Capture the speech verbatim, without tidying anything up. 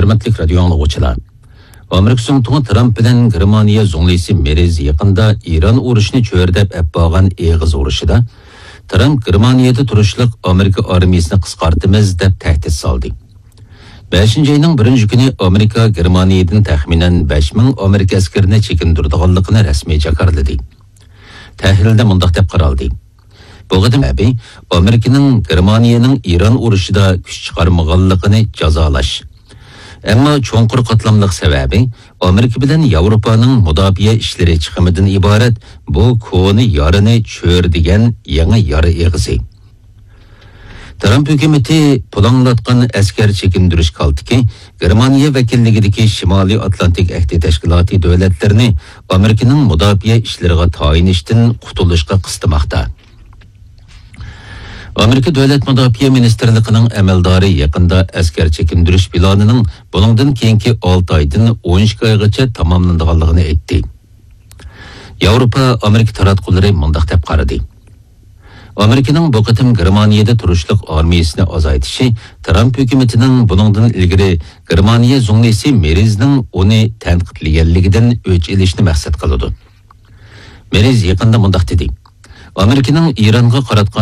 ھۆرمەتلىك رادىيو ئاڭلىغۇچىلار، ئامېرىكا زۇڭتۇڭى ترامپ بىلەن گېرمانىيە زۇڭلىسى مېرز يېقىندا ئىران ئۇرۇشىنى چۆرىدەپ ئەپ بارغان ئېغىز ئۇرۇشىدا، ترامپ گېرمانىيەدە تۇرۇشلۇق ئامېرىكا ئارمىيىسىنى قىسقارتىمىز دەپ تەھدىت سالدى. بەشىنچى ئاينىڭ بىرىنچى كۈنى ئامېرىكا گېرمانىيەدىن تەخمىنەن بەش مىڭ ئامېرىكا ئەسكىرىنى چېكىندۈرىدىغانلىقىنى رەسمىي جاكارلىدى. تەھلىلدە مۇنداق دەپ قارالدى: بۇ قېتىم سەۋەبى ئامېرىكىنىڭ گېرمانىيەنىڭ ئىران ئۇرۇشىدا كۈچ چىقارمىغانلىقىنى جازالاش. ئەمما چوڭقۇر قاتلاملىق سەۋەبى ئامېرىكا بىلەن ياۋروپانىڭ مۇداپىئە ئىشلىرى چىقىمىدىن ئىبارەت بۇ كونا يارىنى چۆرىدىگەن يېڭى يارا ئېغىزى. ترامپ ھۆكۈمىتى پۇلاڭلاتقان ئەسكەر چېكىندۈرۈش كالتىكى گېرمانىيە ۋەكىللىكىدىكى شىمالىي ئاتلانتىك ئەھدى تەشكىلاتى دۆلەتلىرىنى ئامېرىكىنىڭ مۇداپىئە ئىشلىرىغا تايىنىشتىن قۇتۇلۇشقا قىستىماقتا. ئامېرىكا دۆلەت مۇداپىئە مىنىستىرلىقىنىڭ ئەمەلدارى يېقىندا ئەسكەر چېكىندۈرۈش پىلانىنىڭ بۇنىڭدىن كېيىنكى ئالتە ئايدىن ئون ئىككى ئايغىچە تاماملىنىدىغانلىقىنى ئېيتتى. ياۋروپا ئامېرىكا تاراتقۇلىرى مۇنداق دەپ قارىدى: ئامېرىكىنىڭ بۇ قېتىم گېرمانىيەدە تۇرۇشلۇق ئارمىيىسىنى ئازايتىشى ترامپ ھۆكۈمىتىنىڭ بۇنىڭدىن ئىلگىرى گېرمانىيە زۇڭلىسى مېرزنىڭ ئۇنى تەنقىدلىگەنلىكىدىن ئۆچ ئېلىشنى مەقسەت قىلىدۇ. مېرز يېقىندا مۇنداق دېدى: ئامېرىكىنىڭ ئىرانغا قاراتقان